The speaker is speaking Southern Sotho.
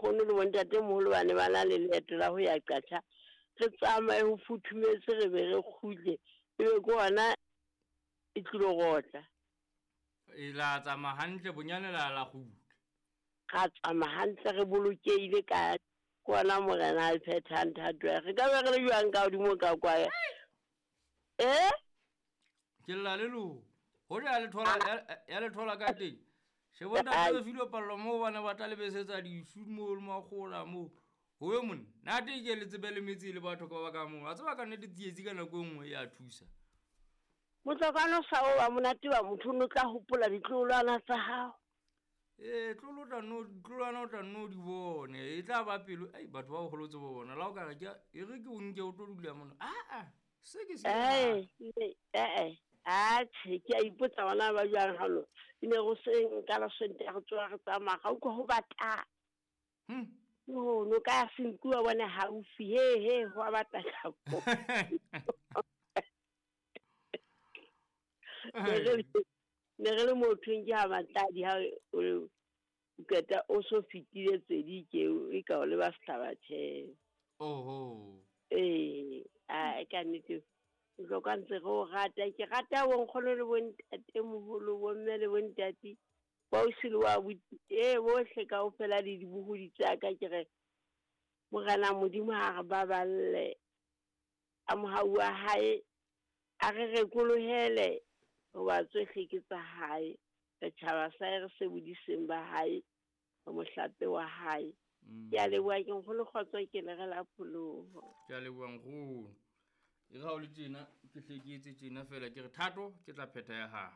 Bonkgono le bontatemoholo ba ne ba na le leeto la ho ya Qacha, re tsamaye ho futhumetse re be re kgutle, ebe ke hona e tlilo rotla. E la tsamaya hantle bonyane la la kgutla. Ra tsamaya hantle re bolokehile ka ke hona Morena a phethang thato ya. Re ka be re le jwang ka hodimo ka kwa? Eh? Ke lla le lona. Hoja ya le thola ya le thola ka teng. Shebo ntate re filwe pallo moo bana ba tla le besetsa disu moo le makgola moo. Ho ye monna. Nate ke le tsebe le metse le batho ka ba ka moo. A tseba ka nnete tsietsi ka nako e nngwe ya thusa. Motlokwana o sa o wa monate wa motho o ne o tla hopola ditloholwana tsa hao. Ee, tlolo o tla nno tlolwana o tla nno di bone. E tla ba pelo. Ai batho ba boholo tsebo bona. La o ka re ke e re ke o nke o tlo dula mona. Ah ah. Se ke se. Eh, eh. Atjhe, ke a ipotsa bona ba jwang halo. E ne go seng ka la Sontaha re tsoha re tsamaya ga utlwa ho bata. No, no ka ya senku wa bone haufi. He he ho a bata ka. Ne re le mothong ke ha matladi ha o qeta o so fetile tsedi ke e ka o leba sehlabatheo. Oho. Ee, a ka nnete Bohlokwa ntse re o rata. Ke rata bonkgono le bontatemoholo, bomme le bontate, boausi le boabuti, ee bohle kaofela le dibohodi tsa ka. Ke re Morena Modimo ha re baballe, a mohau wa hae a re rekolohele, hoba tsohle ke tsa hae. Re tjhaba sa hae, re sebodiseng ba hae, re mohlape wa hae. Ke a leboha, ke nkgono kgotso, ke le re la pholoho. Ke a leboha nkgono. E re ha o le tjena, ke hle ke etse tjena feela, ke re thato ke tla phetha ya hao.